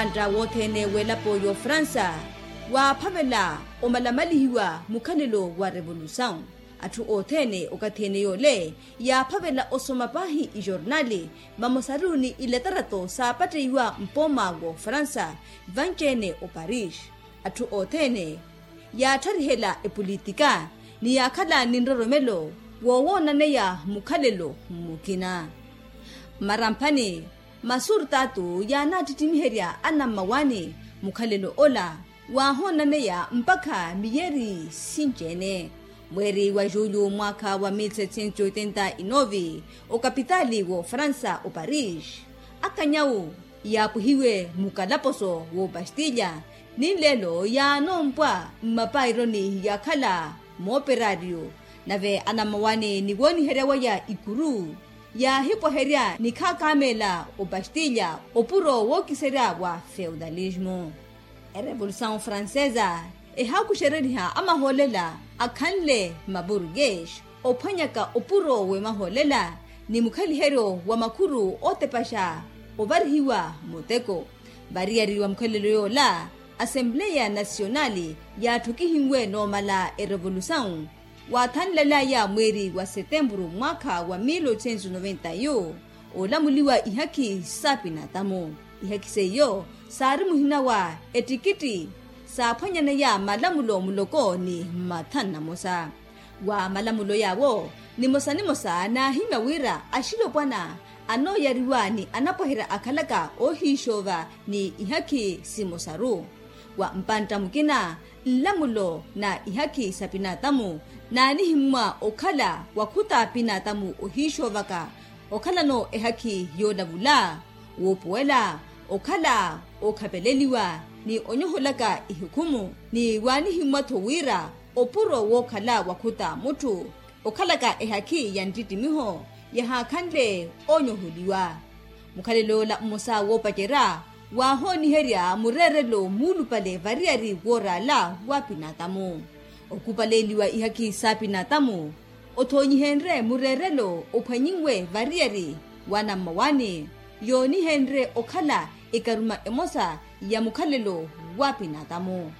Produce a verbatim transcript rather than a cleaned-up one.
Antta wothene welapo y'ofransa waaphavela omalamalihiwa mukhalelo wa revolusaw. Atthu othene okathi ene yoole yaaphavela osoma paahi ijornali vamosaru ni iletarato saapatteiwa mpooma w'ofransa vanci-ene oparis. Atthu othene yaatthariherya epolitika ni yaakhala ni nroromelo wowoonaneya mukhalelo mukina. Mmaramphani masurtatu yaanaattittimiherya anammawaani mukhalelo ola waahoonnaneya mpakha miyeri sinci-ene. Mweeri wa julyu mwaakha wa mil sete cento oitenta e nove okapitaali w'ofransa oparis akanyawu yaapwihiwe mukalaposo w'opastilya ni nleelo yaanoompwa mmapaironi yaakhala mooperaryo. Nave anammawaani ni wooniherya waya ikuru yaahipwaherya ni khaakaameela opastilya opuro wookiserya wa feudalismu. Erevolusaw francesa ehaakuxereriha amahoolela akhanle maburgues ophwanyaka opuro w'emahoolela ni mukhaliheryo wa makhuru ootepaxa ovarihiwa muteko. Variyari wa mukhalelo yoola asempleya nasionali yaatthokihimwe noomala erevolusaw waathanlelaya mweeri wa setempuru mwaakha wa mil oitocentos noventa yu oolamuliwa ihakhi sa pinatamu. Ihakhi seiyo saari muhina wa ettikitti saaphwanyaneya malamulo muloko ni mathanu na mosa. Wa malamulo yaawo nimosa nimosa naahimya wira axilopwana anooyariwa ni anapwaherya akhalaka oohiixoova ni ihakhi simosaru. Wa mpantta mukina nlamulo na ihakhi sa pinatamu naanihimmwa okhala wakhuta pinatamu ohiixoovaka okhalano ehakhi yoolavula woopuwela okhala ookhapeleliwa ni onyoholaka ihukhumu ni waanihimmwa-tho wira opuro wookhala wakhuta mutthu okhalaka ehakhi ya nttittimiho yahaakhanle onyoholiwa. Mukhalelo ola mmosa woopacerya waahooniherya mureerelo muulupale variyari wooraala wa pinatamu. Okupaleeliwa ihakhi sa pinatamu othoonyihenrye mureerelo ophwanyinwe variyari wa nammawaani yoonihenrye okhala ekaruma emosa ya mukhalelo wa pinatamu.